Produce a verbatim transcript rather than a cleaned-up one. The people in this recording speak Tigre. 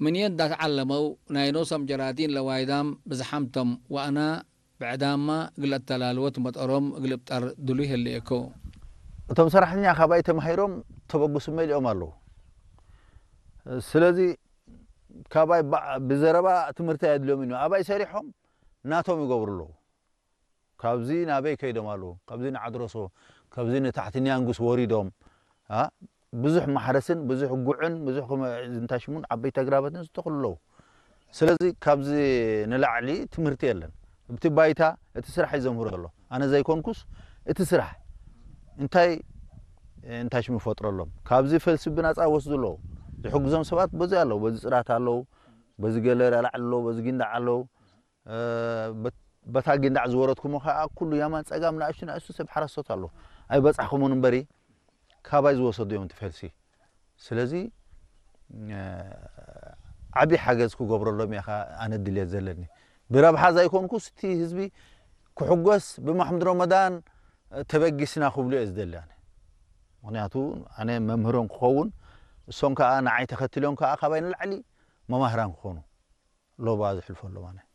ምን የዳት ዐለመው ናይ ኖሶም ጀራዲን ለዋይዳም ብዝሓም ቶም ወአና ብዕዳምመ እግል አተላልወት መጠሮም እግል እብጠር ድሉይ ህሌኮ። እቶም ሰራሕተኛ ካባይ ተማሂሮም ተበጉስመ ኢሊኦም አለው። ስለዚ ካባይ ባ-፣ ብዘረባ ትምህርት አያድልዮም ኢኑ አባይ ሰሪሖም ናቶም ይገብሩ ኣለዉ። ካብዚ ናበይ ከይዶም ኣለዉ፣ ካብዚ ንዓድረሶ፣ ካብዚ ንታሕቲ ኒያንጉስ ወሪዶም፣ አ፣ ብዙሕ ማሕረስን፣ ብዙሕ ጉዕን፣ ብዙሕ ክመ-፣ ዝንታሽሙን ዓበይቲ ኣግራባትን ዝተኽሉ ኣለዉ። ስለዚ ካብዚ ንላዕሊ ትምህርቲ የለን። እብቲ ባይታ እቲ ስራሕ እዩ ዘምህሮ ዘሎ። ኣነ ዘይኮንኩስ እቲ ስራሕ እንታይ እንታሽሙ ይፈጥረሎም። ካብዚ ፈልሲ ብናጻ ይወስዱ ኣለዉ። ዝሕግዞም ሰባት በዚ ኣለዉ። በዚ ጽዳት ኣለዉ፣ በዚ ገለ ላዕሊ ኣለዉ፣ በዚ ጊንዳዕ ኣለዉ። እ፣ በት-፣ በታ ጊንዳዕ ዝወረድኩሞ ከኣ ኩሉ የማን ጸጋም ንኣሽቱ ንኣሽቱ ሰብ ሓረስቶት ኣለዉ። ኣይበጻሕኩሙን እምበሪ፣ ካባይ ዝወሰዱ እዮም እቲ ፈልሲ። ስለዚ፣ እ፣ ዓቢ ሓገዝ ክገብረሎም እየ ከኣ ኣነ ድልየት ዘለኒ። ብረብሓ ዘይኮንኩስ እቲ ህዝቢ ክሕጎስ ብማሕሙድ ረመዳን ተበጊስና ክብሉ እየ ዝደሊ ኣነ። ምኽንያቱ ኣነ መምህሮም ክኸውን፣ እሶም ከኣ ንዓይ ተኸትሎም ከኣ ካባይ ንላዕሊ መማህራን ክኾኑ ሎባ ዝሕልፎ ኣሎ ማለት።